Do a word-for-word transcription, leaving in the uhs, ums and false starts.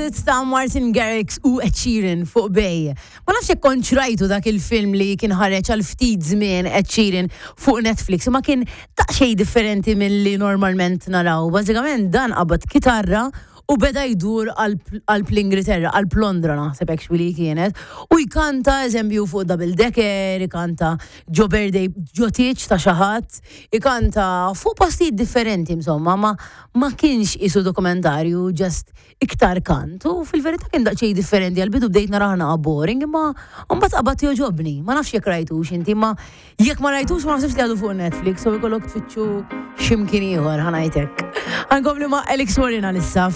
It's ta' Martin Garrix u Ed Sheeran fuq Bay. Ma nafx jekk kontx rajtu dak il-film li kien ħareġ għal ftit żmien Ed Sheeran fuq Netflix, ma kien daqsxejn differenti milli normalment naraw. Bażikament dan qabad kitarra u beda jdur għal l-Ingilterra, għal Londra naħseb actually kienet, u jkanta eżempju fuq double decker, jkanta ġo birthday, ġo tieġ ta' xi ħadd, jkanta fuq postijiet differenti insomma, ma, ma kienx isu dokumentarju, just iktar kant. U fil-verità kien daqsxejn differenti, għal-bidu bdejt narah naqra boring, imma mbagħad qabad jogħġobni. Ma nafx jekk rajtux inti, ma jekk ma rajtux ma naħsibx li għadu fuq Netflix, u jkollok tfittxu x'imkien ieħor, ħa ngħidlek. Ħa nkompli ma' Alex Warren għalissa.